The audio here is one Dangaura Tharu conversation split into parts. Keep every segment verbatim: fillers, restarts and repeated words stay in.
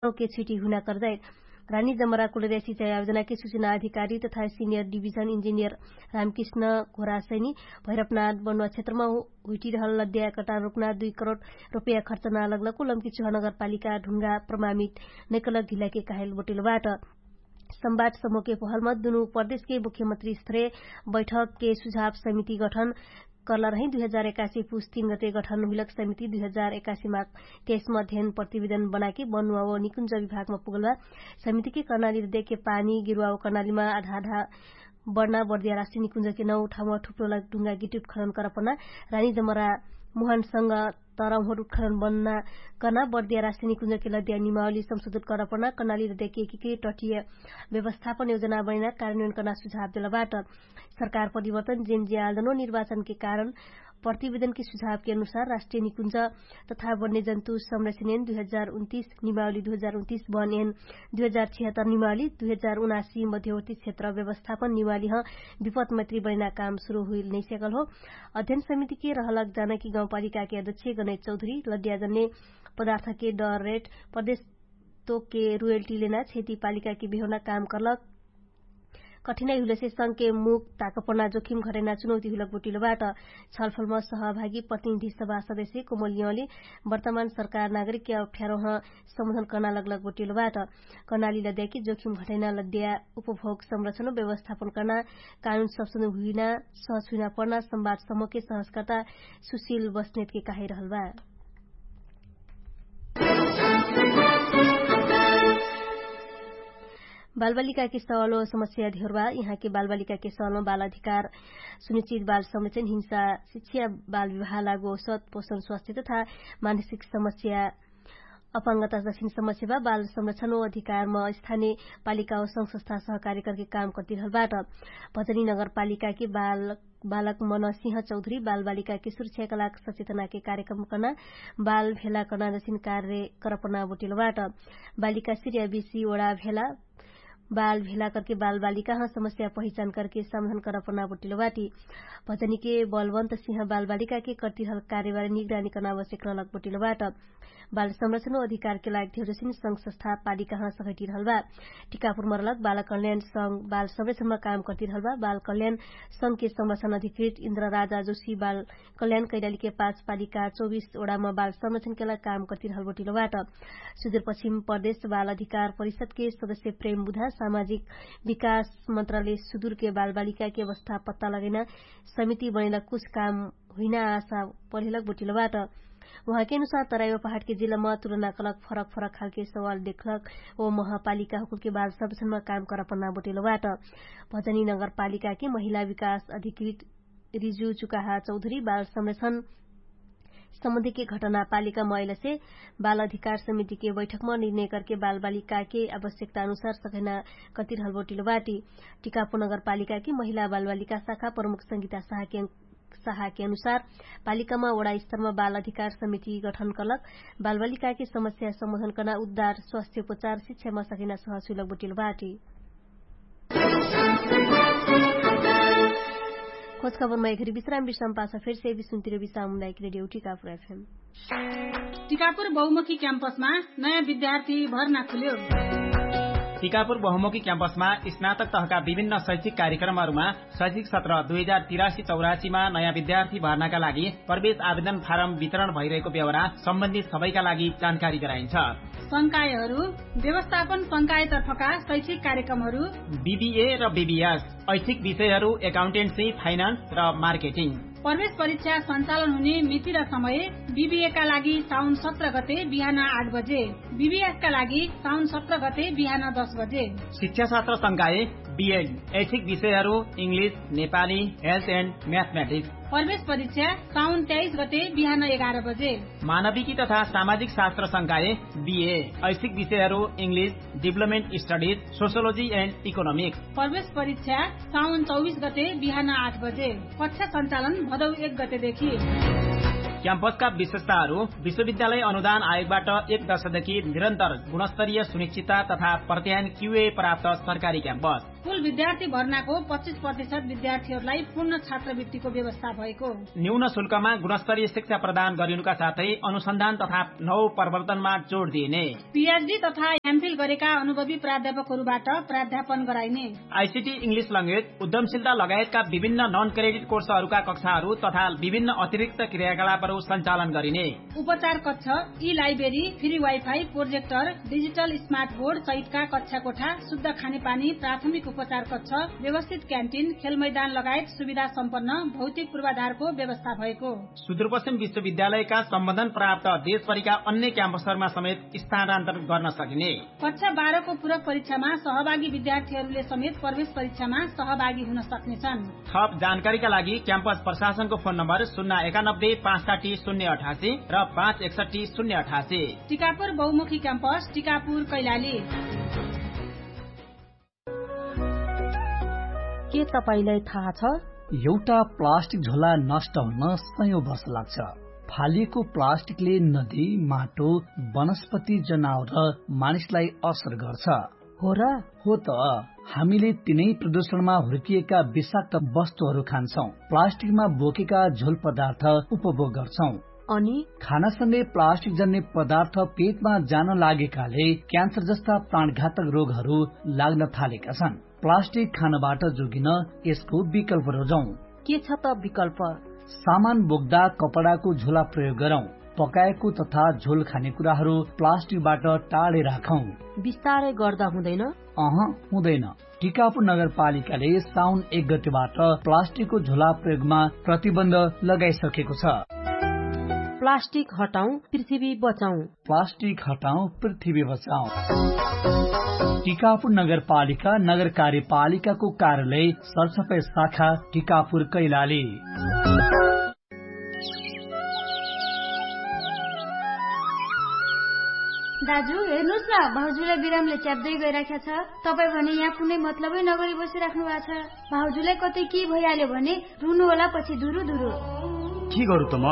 के छिटी हुना कर्दै रानी जमरा कुलर्या सिचाइ आयोजनाके सुचना अधिकारी तथा सिनियर डिभिजन इन्जिनियर रामकृष्ण घोरासैनी भैरपनाथ बन्वा क्षेत्रमा हुइटिरहल लद्या कटान रोपना दुई करोड रोपया खर्च नालग्लकु लम्की चुहा नगरपालिका ढुङ्गा प्रमामित नैकलक ढिलाके काहेल बोटेलबाट। सम्वाद समूहके पहलमा दुनु प्रदेशके मुख्यमन्त्री स्त्रे बैठकके सुझाव समिति गठन कर्ला रहि दुई हजार एकासी पुस तीन गते गठन हुइलक समिति दुई हजार एकासी माक तेइसमा अध्ययन प्रतिवेदन बनाके बनुवा व निकुञ्ज विभागमा पुगलबा। समितिके कर्णाली देके पानी गिरुवा व कर्णालीमा आधा आधा बढ्ना बढ्दिया राष्ट्रिय निकुञ्जके नौ ठाउँमा ठुप्रोलक ढुङ्गा गिटुट खनन करपना रानी जमरा मुहानसँग तरौहट उत्खनन बन्ना कर्ना बर्दिया राष्ट्रिय निकुञ्जके लद्या निमावली संशोधन कर्ना पर्ना कर्नाली लद्याके एकीकृत टटिय व्यवस्थापन योजना बनैना कार्यान्वयन कर्ना सुझाव देलबाट। सरकार परिवर्तन जेन जे आन्दोलन निर्वाचनके कारण प्रतिवेदनके सुझावके अनुसार राष्ट्रिय निकुञ्ज तथा बन्ने जन्तु संरक्षणयन दुई हजार उन्तिस निमावली दुई हजार उन्तिस बनयन दुई हजार छिहत्तर निमावली दुई हजार उनासी मध्यवर्ती क्षेत्र व्यवस्थापन निमावलीह विपत मैत्री बनैना काम सुरु हुइल नैस्याकल हो। अध्ययन समितिके रहलक जानकी गाउँपालिकाके अध्यक्ष गणेश चौधरी लड्याजन्ने पदार्थके डर रेट प्रदेश तोकके रुयल्टी लेना क्षति पालिकाके बेहोना काम कर्लक कठिनाइ हुइलसे संघके मुख ताकपना जोखिम घटैना चुनौती हुइलक बोटिलोबाट। छलफलमा सहभागी प्रतिनिधि सभा सदस्य कोमलियौंले वर्तमान सरकार नागरिकके अप्ठ्यारोह सम्बोधन कर्ना लगलक बोटिलोबाट। कर्नाली लद्याके जोखिम घटैना लद्या उपभोग संरक्षण व्यवस्थापन कर्ना कानुन सप्सन हुइना सहस हुइना पर्ना संवाद समूहके सहस्कर्ता सुशील बस्नेतके काहिरहलबा। बालबालिकाके सवालो समस्या धेरबा यहाँके बालबालिकाके सवालमा बाल अधिकार सुनिश्चित बाल संरक्षण हिंसा शिक्षा बाल विवाह लागु औसत पोषण स्वास्थ्य तथा मानसिक समस्या अपाङ्गता जसिन समस्या बा। बाल संरक्षण ओ अधिकारम स्थानीय पालिका ओ संघ संस्था सहकार्य करके काम कर्तिरहलबाट। भजनी नगरपालिकाके बाल बालक मनसिंह चौधरी बालबालिकाके सुरक्षाका लाग सचेतनाके कार्यक्रम कर्ना बाल भेला कर्ना जसिन कार्य करपना बोटिलबाट। बालिका सिर्या बिसी ओडा भेला बाल भेला करके बालबालिकाह समस्या पहिचान करके समाधान करपना बोटिलबाट। भजनीके बलवन्त सिंह बालबालिकाके कर्तिरहल कार्यवारी निगरानी कर्ना आवश्यक रहलक बोटिलबाट। बाल संरक्षण अधिकारके लाग धेरोसिन संघ संस्था पालिकाह सहैटिरहलबा। टिकापुर मरलक बाल कल्याण संघ बाल संरक्षणमा काम कर्तिरहलबा बाल कल्याण संघके संरक्षण अधिकृत इन्द्र राजा जोशी बाल कल्याण कैलालीके पाँच पालिका चौबिस ओडामा बाल संरक्षणके लाग काम कर्तिरहल बोटिलबाट। सुदूरपश्चिम प्रदेश बाल अधिकार परिषदके सदस्य प्रेम बुधा सामाजिक विकास मन्त्रालय सुदूरके बालबालिकाके अवस्था पत्ता लगैना समिति बनैला कुछ काम हुइना आशा पढेलक बोटिलबाट। उहाँके अनुसार तराइवा पहाडके जिल्लामा तुलना कलक फरक फरक खालके सवाल देखलक ओ महापालिका हुकुलके बाल संरक्षणमा काम करपना बोटिलबाट। भजनी नगरपालिकाके महिला विकास अधिकृत रिजु चुकाहा चौधरी बाल संरक्षण सम्बन्धीके घटना पालिका मैलसे बाल अधिकार समितिके बैठकमा निर्णय करके बालबालिकाके आवश्यकता अनुसार सघैना कतिरहल बोटिलबाट। टिकापुर नगरपालिकाके महिला बालबालिका शाखा प्रमुख संगीता शाहके शाहके अनुसार पालिकामा ओडा स्तरमा बाल अधिकार समिति गठन कलक बालबालिकाके समस्या सम्बोधन कर्ना उद्धार स्वास्थ्य उपचार शिक्षामा सघैना सहसुइलक बोटिलबाट। खोजखबरमा एघरी विश्राम विश्राम पाछ फेरसे विश्राम तिरबी सामुदायिक रेडियो टिकापुर एफएम। टिकापुर बहुमुखी क्याम्पसमा नयाँ विद्यार्थी भर्ना खुल्यो। टिकापुर बहुमुखी क्याम्पसमा स्नातक तहका विभिन्न शैक्षिक कार्यक्रमहरूमा शैक्षिक सत्र दुई हजार तिरासी चौरासीमा नयाँ विद्यार्थी भर्नाका लागि प्रवेश आवेदन फारम वितरण भइरहेको व्यवहार सम्बन्धित सबैका लागि जानकारी गराइन्छ। संकायहरू व्यवस्थापन संकायतर्फका शैक्षिक कार्यक्रमहरू बिबिए र बिबिएस ऐच्छिक विषयहरू एकाउन्टेन्सी फाइनान्स र मार्केटिङ। प्रवेश परीक्षा सञ्चालन हुने मिति र समय बिबिएका लागि साउन सत्र गते बिहान आठ बजे, बिबिएसका लागि साउन सत्र गते बिहान दस बजे। शिक्षाशास्त्र संकाय बिएड ऐच्छिक विषयहरू इङ्ग्लिस, नेपाली, हेल्थ एन्ड म्याथमेटिक्स। प्रवेश परीक्षा साउन तेइस गते बिहान एघार बजे। मानविकी तथा सामाजिक शास्त्र संकाय बिए ऐच्छिक विषयहरू इङ्ग्लिस, डिभलपमेन्ट स्टडिज, सोसियोलोजी एन्ड इकोनोमिक्स। प्रवेश परीक्षा साउन चौबिस गते बिहान आठ बजे। कक्षा सञ्चालन भदौ एक गतेदेखि। क्याम्पसका विशेषताहरू विश्वविद्यालय अनुदान आयोगबाट एक दशकदेखि निरन्तर गुणस्तरीय सुनिश्चितता तथा प्रत्यायन क्युए प्राप्त सरकारी क्याम्पस। कुल विद्यार्थी भर्नाको पच्चिस प्रतिशत विद्यार्थीहरूलाई पूर्ण छात्रवृत्तिको व्यवस्था भएको। न्यून शुल्कमा गुणस्तरीय शिक्षा प्रदान गरिनुका साथै अनुसन्धान तथा नौ प्रवर्तनमा जोड दिइने। पिएचडी तथा एमफिल गरेका अनुभवी प्राध्यापकहरूबाट प्राध्यापन गराइने। आइसिटी, इङ्ग्लिस ल्याङ्ग्वेज, उद्यमशीलता लगायतका विभिन्न नन क्रेडिट कोर्सहरूका कक्षाहरू तथा विभिन्न अतिरिक्त क्रियाकलापहरू सञ्चालन गरिने। उपचार कक्ष, ई library, free wifi, projector, digital smart board सहितका कक्षा कोठा, शुद्ध खानेपानी, प्राथमिक उपचार कक्ष, व्यवस्थित क्यान्टिन, खेल मैदान लगायत सुविधा सम्पन्न भौतिक पूर्वाधारको व्यवस्था भएको। सुदूरपश्चिम विश्वविद्यालयका सम्बन्धन प्राप्त देशभरिका अन्य क्याम्पसहरूमा समेत स्थानान्तरण गर्न सकिने। कक्षा बाह्रको पूरक परीक्षामा सहभागी विद्यार्थीहरूले समेत प्रवेश परीक्षामा सहभागी हुन सक्नेछन्। थप जानकारीका लागि क्याम्पस प्रशासनको फोन नम्बर शून्य एकानब्बे पाँच साठी शून्य अठासी र पाँच एकसठी शून्य अठासी। टिकापुर बहुमुखी क्याम्पस, टिकापुर, कैलाली। के तपाईंलाई थाहा छ? एउटा प्लास्टिक झोला नष्ट हुन सयौं वर्ष लाग्छ। फालिएको प्लास्टिकले नदी, माटो, वनस्पति, जनावर र मानिसलाई असर गर्छ। हो र? हो त। हामीले तिनै प्रदूषणमा हुर्किएका विषाक्त वस्तुहरू खान्छौं, प्लास्टिकमा बोकेका झोल पदार्थ उपभोग गर्छौं। अनि? खानासँगै प्लास्टिक जन्ने पदार्थ पेटमा जान लागेकाले क्यान्सर जस्ता प्राणघातक रोगहरू लाग्न थालेका छन्। प्लास्टिक खानबाट जोगिन यसको विकल्प रोजौं। के छ त विकल्प? सामान बोक्दा कपडाको झोला प्रयोग गरौं। पकाएको तथा झोल खाने कुराहरू प्लास्टिकबाट टाढे राखौं। बिस्तारै गर्दा हुँदैन? अह, हुँदैन। टिकापुर नगरपालिकाले साउन एक गतिबाट प्लास्टिकको झोला प्रयोगमा प्रतिबन्ध लगाइसकेको छ। प्लास्टिक हटाउँ, पृथ्वी बचाउँ। प्लास्टिक हटाउँ, पृथ्वी बचाउँ। टिकापुर नगरपालिका, नगर कार्यपालिकाको कार्यालय, सरसफाइ शाखा, टिकापुर, कैलाली। दाजु, हेर्नुस् न, भाउजूलाई बिरामले च्याप्दै गइराख्या छ। तपाईं भने यहाँ कुनै मतलबै नगरी बसिराख्नु भएको छ। भाउजूलाई कतै के भइहाल्यो भने रुनु होला पछि धुरु धुरु। के गरु त म?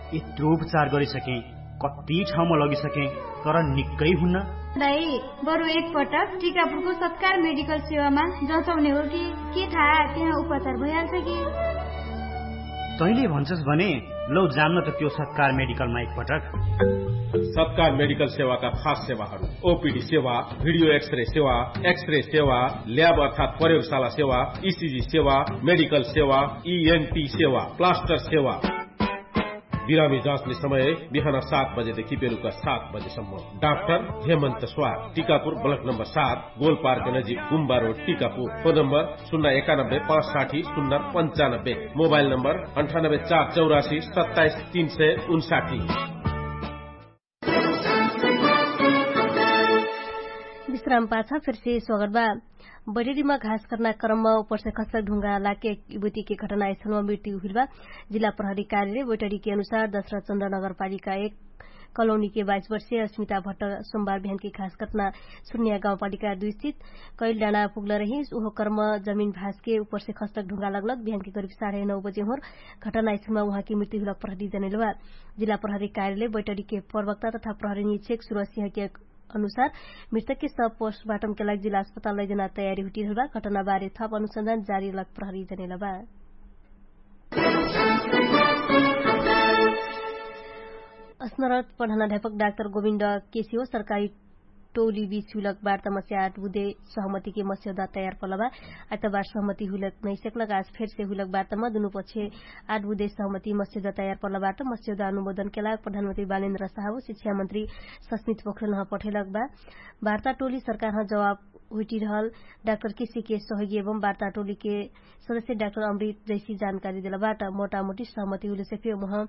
यत्रो उपचार गरिसकेँ, कति ठाउँमा लगिसकेँ, तर निक्कै हुन्न। दाइ, बरु एक पटक टिकापुरको सत्कार मेडिकल सेवामा जचाउने हो कि, के थाहा त्यहाँ उपचार भइहाल्छ कि। तैँले भन्छस् भने लौ जान्न त त्यो सत्कार मेडिकलमा एक पटक। सत्कार मेडिकल सेवाका खास सेवाहरू: ओपिडी सेवा, भिडियो एक्सरे सेवा, एक्सरे सेवा, ल्याब अर्थात् प्रयोगशाला सेवा, इसिजी सेवा, मेडिकल सेवा, इएनटी सेवा, प्लास्टर सेवा। बिरामी जाँच्ने समय बिहान सात बजेदेखि बेलुका सात बजेसम्म। डाक्टर हेमन्त स्वार, टिकापुर, ब्लक नम्बर सात, गोलपार्क नजिक गुम्बा रोड, टिकापुर। फोन नम्बर शून्य एकानब्बे पाँच साठी शून्य पन्चानब्बे। मोबाइल नम्बर अन्ठानब्बे चार चौरासी सत्ताइस तीन सय उन्साठी। विश्राम पाछा फेरसे स्वागत बा। बैटरीमा घास कर्ना क्रममा उपरसे खस्लक ढुङ्गा लाके इबुतिके घटना आइसनमा मृत्यु हुइल बा। जिल्ला प्रहरी कार्यालय बैटरीके अनुसार दशरथ चन्द्र नगरपालिका एक कलोनीके बाइस वर्षीय अस्मिता भट्ट सोमबार बिहानके घास कट्ना सुर्निया गाउँपालिका दुई स्थित कैल डाँडा पुग्ल रहिस। उहो कर्म जमिन भासके उपरसे खस्लक ढुङ्गा लगलक बिहानके करिब साढे नौ बजे होर घटना आइसनमा उहाँके मृत्यु हुलक प्रहरी जनैलबा। जिल्ला प्रहरी कार्यालय बैटरीके प्रवक्ता तथा प्रहरी निक्षेक सुरसिंहके अनुसार मृतकके सब पोस्टमार्टमके लागि जिल्ला अस्पताल लैजना तयारी हुटिरहलबा। घटनाबारे थप अनुसन्धान जारी लक प्रहरी जनेलबा। अस्नरत प्रधानाध्यापक डाक्टर गोविन्द केसियो सरकारी टोली बीच हुलक वार्तामा स्याट बुधे सहमतिके मस्यौदा तयार पलबा। आइतबार सहमति हुलक नैसेकलक आज फेरसे हुलक वार्तामा दुनु पक्षे आठ बुधे सहमति मस्यौदा तयार पलबाट मस्यौदा अनुमोदनके लाग प्रधानमन्त्री बालेन्द्र साहबो शिक्षामन्त्री सस्मित पोख्रेलह पठेलक बा। वार्ता टोली सरकारह जवाब हुइटिरहल डाक्टर केसिके सहयोगी एवं वार्ता टोलीके सदस्य डाक्टर अमृत जैसी जानकारी देलबाट मोटामोटी सहमति हुलेसे फेर उहाँ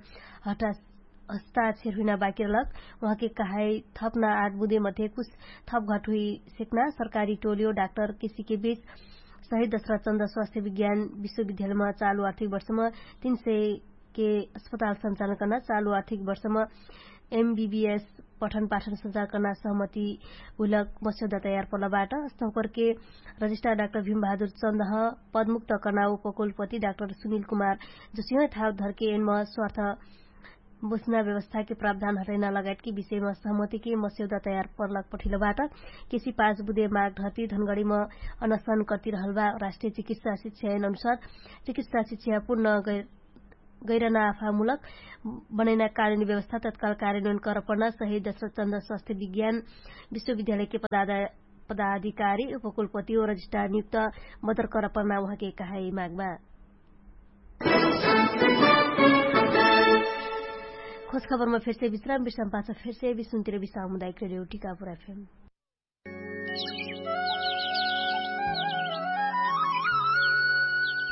हस्ताक्षर हुइना बाकी रहलक। उहाँके कहाई थपना आठ बुधे मध्ये कुछ थप घट हुइ सेक्ना सरकारी टोलियो डाक्टर केसिके बीच शहीद दशरथ चन्द स्वास्थ्य विज्ञान विश्वविद्यालयमा चालु आर्थिक वर्षमा तीन सय के अस्पताल सञ्चालन कर्ना चालु आर्थिक वर्षमा एमबिबिएस पठन पाठन सञ्चालन कर्ना सहमति हुलक मस्यौदा तयार पलबाट। अस्तौकरके रजिस्ट्रार डाक्टर भीमबहादुर चन्दह पदमुक्त कर्ना उपकुलपति डाक्टर सुनिल कुमार जसिह ठाउँ धरके एनमा स्वार्थ बोसना व्यवस्थाके प्रावधान हटैना लगायतके विषयमा सहमतिके मस्यौदा तयार पर्लक पठिलोबाट। केसी पाँच बुधे माग धर्ती धनगढीमा अनसन कर्तिरहलबा राष्ट्रिय चिकित्सा शिक्षा ऐन अनुसार चिकित्सा शिक्षा पूर्ण गैरना आफामूलक बनैना कानुनी व्यवस्था तत्काल कार्यन्वयन करपर्ना सहित दशरथ चन्द्र स्वास्थ्य विज्ञान विश्वविद्यालयके पदाधिकारी उपकुलपति ओ रजिस्ट्रार नियुक्त बदर करपर्ना उहाँके कहाई मागमा। खोजखबरमा फेरसे विश्राम विश्राम पाछ फेरसे विश्वतिर विश्राम हुँदा एक रेडियो टिका पुरा फेम।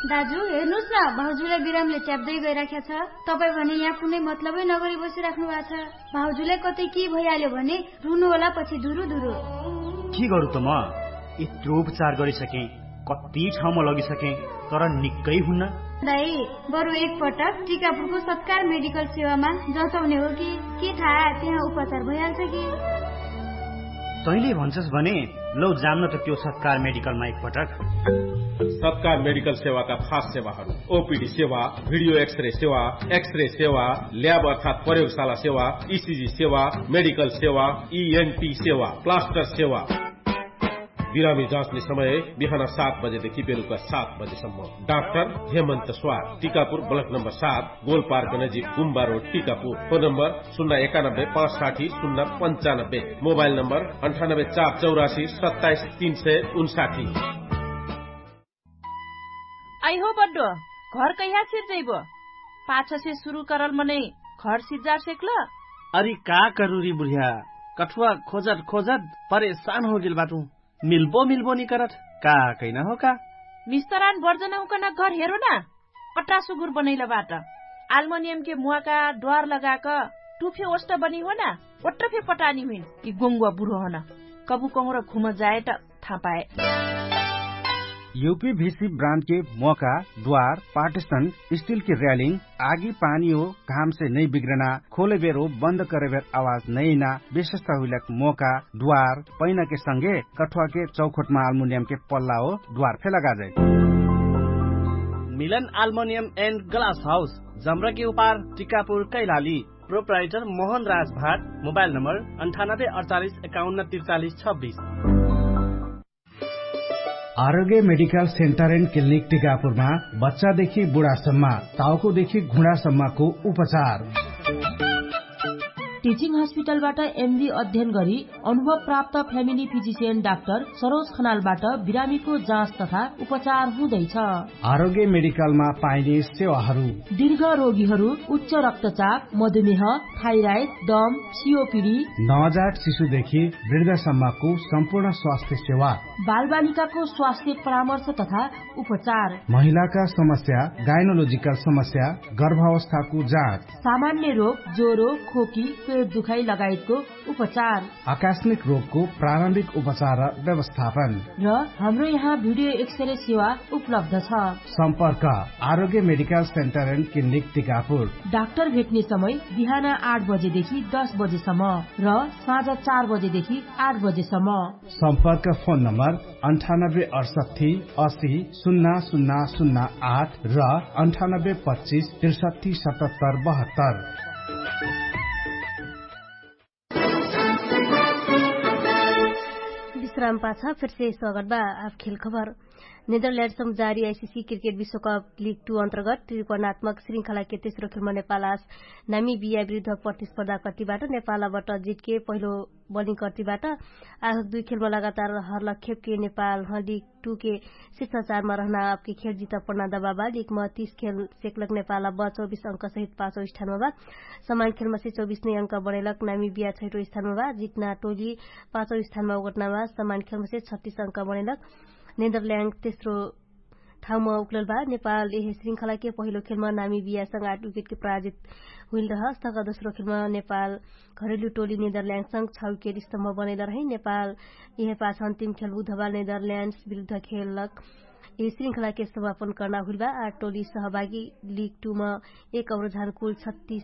दाजु, हेर्नुस् न, भाउजूलाई बिरामले च्याप्दै गइराख्या छ। तपाईँ भने यहाँ कुनै मतलबै नगरी बसिराख्नु भएको छ। भाउजूलाई कतै के भइहाल्यो भने रुनु होला पछि धुरु धुरु। के गरु त म यत्रो उपचार गरिसकेँ, कति ठाउँमा लगिसकेँ, तर निक्कै हुन्न। दाइ, बरु एकपटक टिकापुरको सत्कार मेडिकल सेवामा जचाउने हो कि, के थाहा त्यहाँ उपचार भइहाल्छ कि? तैँले भन्छस् भने लौ जान्न त त्यो सत्कार मेडिकलमा एकपटक। सत्कार मेडिकल सेवाका खास सेवाहरू: ओपिडी सेवा, भिडियो एक्सरे सेवा, एक्सरे सेवा, ल्याब अर्थात् प्रयोगशाला सेवा, इसिजी सेवा, मेडिकल सेवा, इएनटी सेवा, प्लास्टर सेवा। बिरामी जाँच्ने समय बिहान सात बजेदेखि बेलुका सात बजेसम्म। डाक्टर हेमन्त स्वार, टिकापुर, ब्लक नम्बर सात, गोलपार्क नजिक, गुम्बा रोड, टिकापुर। फोन नम्बर शून्य एकानब्बे पाँच साठी शून्य पन्चानब्बे। मोबाइल नम्बर अन्ठानब्बे चार चौरासी सत्ताइस तीन सय उन्साठी। अइहो बड्डो, घर कहिया सिर्जैबो? पाछसे सुरु करल मनै घर सिर्जार सेक्ल? अरि का करुरी बुढिया, कठुवा खोजत खोजत परेशान होगेल बाटु। मिल्बो मिल्बो निकरत, का कैना हो का? मिस्तरान बर्जन हुकन घर हेरो ना। अट्रा सुगुर बनैल बाट। आल्मनियमके मुवाका द्वार लगाक टुफे ओष्ट बनी हो ना। ओट्ट फे पटानी हुइन कि गोङ्गुवा बुढो हन। कबु कहुँर घुम जाए त थापाए। युपी भिसी ब्रान्डके मोका द्वार पार्टिसन स्टिलके र्यालिङ आगी पानी हो घामसे नै बिग्रना खोले बेरो बन्द करे बेर आवाज नैना विशेषता हुइलक मोका द्वार पैनाके संगे कठुवाके चौखोटमा आल्मुनियमके पल्ला हो द्वार फे लगाजै। मिलन आल्मुनियम एन्ड ग्लास हाउस जम्रके उपार टिकापुर कैलाली। प्रोप्राइटर मोहन राज भाट। मोबाइल नम्बर अन्ठानब्बे अडचालिस एकाउन्न त्रिचालिस छब्बिस। आरोग्य मेडिकल सेन्टर एन्ड क्लिनिक टिकापुरमा बच्चादेखि बुढासम्म, टाउकोदेखि घुँडासम्मको उपचार। टिचिङ हस्पिटलबाट एमडी अध्ययन गरी अनुभव प्राप्त फ्यामिली फिजिसियन डाक्टर सरोज खनालबाट बिरामीको जाँच तथा उपचार हुँदैछ। आरोग्य मेडिकलमा पाइने सेवाहरू। दीर्घ रोगीहरू उच्च रक्तचाप, मधुमेह, थाइराइड, दम, सिओपिडी, नवजात शिशुदेखि वृद्धसम्मको सम्पूर्ण स्वास्थ्य सेवा। बालबालिकाको स्वास्थ्य परामर्श तथा उपचार। महिलाका समस्या, गाइनोलोजिकल समस्या, गर्भावस्थाको जाँच। सामान्य रोग, ज्वरो, खोकी, पेट दुखाइ लगायतको उपचार। आकस्मिक रोगको प्रारम्भिक उपचार र व्यवस्थापन। र हाम्रो यहाँ भिडियो एक्सरे सेवा उपलब्ध छ। सम्पर्क Arogya medical centre and clinic Tikapur. Doctor भेट्ने समय बिहान आठ बजेदेखि दस बजेसम्म र साँझ चार बजेदेखि आठ बजेसम्म। सम्पर्क फोन नम्बर अन्ठानब्बे अडसट्ठी असी सुन्ना सुन्ना सुन्ना आठ र अन्ठानब्बे पच्चिस त्रिसट्ठी सतहत्तर बहत्तर। विश्राम पाछा फेरसे स्वागत बा। आफ खेल खबर। नेदरल्यान्डसम जारी आइसिसी क्रिकेट विश्वकप लिग टू अन्तर्गत त्रिकोणात्मक श्रृङ्खलाके तेस्रो खेलमा नेपाल आज नामिबिया विरुद्ध प्रतिस्पर्धा कट्टीबाट नेपालबाट जितके पहिलो बलिङ कट्टीबाट आज दुई खेलमा लगातार हरलक खेपके नेपाल ह लिग टूके शिष्टाचारमा रहना आपके खेल जित पन्ना दबाबा लिगमा तीस खेल सेकलक नेपाल अब चौबीस अङ्क सहित पाँचौ स्थानमा बा। समान खेलमा से चौबीस नै अङ्क बढेलक नामिबिया छैटो स्थानमा बा। जितना टोली पाँचौ स्थानमा ओगटनामा समान खेलमा से छत्तीस अङ्क बढेलक। नेदरल्यान्ड तेस्रो ठाउँमा उक्लल बा। नेपाल यहे श्रृङ्खलाके पहिलो खेलमा नामिबियासँग आठ विकेटके पराजित हुइल रहस तक दोस्रो खेलमा नेपाल घरेलु टोली नेदरल्यान्डसँग छ विकेट स्तम्भ बनैल रहे। नेपाल यहे पाछ अन्तिम खेल बुधबार नेदरल्यान्ड्स विरुद्ध खेलक यही श्रृङ्खलाके समापन कर्ना हुइल बा। आठ टोली सहभागी लिग टूमा एक अवरोझान कुल छत्तीस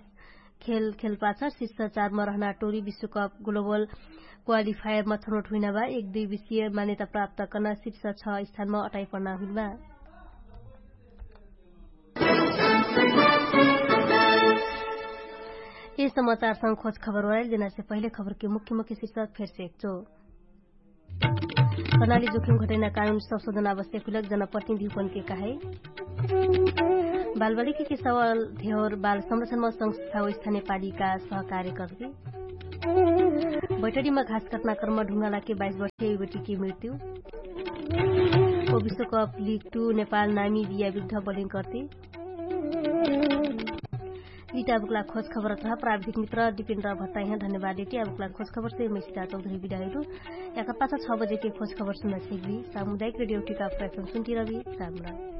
खेल खेलपाछ शिष्टाचारमा रहना टोली विश्वकप ग्लोबल क्वालिफायरमा छनोट हुइना बा। एक दुई विषय मान्यता प्राप्त कर्ना शिर्ष छ स्थानमा अटाइ पर्ना हुइल बा। यी समाचारसँग खोज खबर ओराइल जेनासे पहिले खबरके मुख्य मुख्य शिर्षक फेरसे एकचो। कर्णाली जोखिम घटैना कानुन संशोधन आवश्यक हुइलक जनप्रतिनिधिपनके कहाइ। बालबालिकाके सवाल धेवर बाल संरक्षणमा संस्था वैस्थाने पालिका सहकार्य कर्ति। बैठरीमा घास कटना कर्म ढुङ्गालाके बाइस वर्षे युवटीके मृत्यु। विश्वकप लिग टु नेपाल नामी बिया विरुद्ध बलिङ कर्ति। लिटा बुक्ला खोज खबर त प्राविधिक मित्र दिपिन्द्र भत्ताइहाँ धन्यवाद देति। अबुक्ला खोज खबर से मैसिता चौधरी बिदाइरु। याकर पाछा छ बजेके खोज खबर सुन्ना छेकबी। सामुदायिक रेडियो टिका प्रयत्न सुन्ति रबी। राम राम।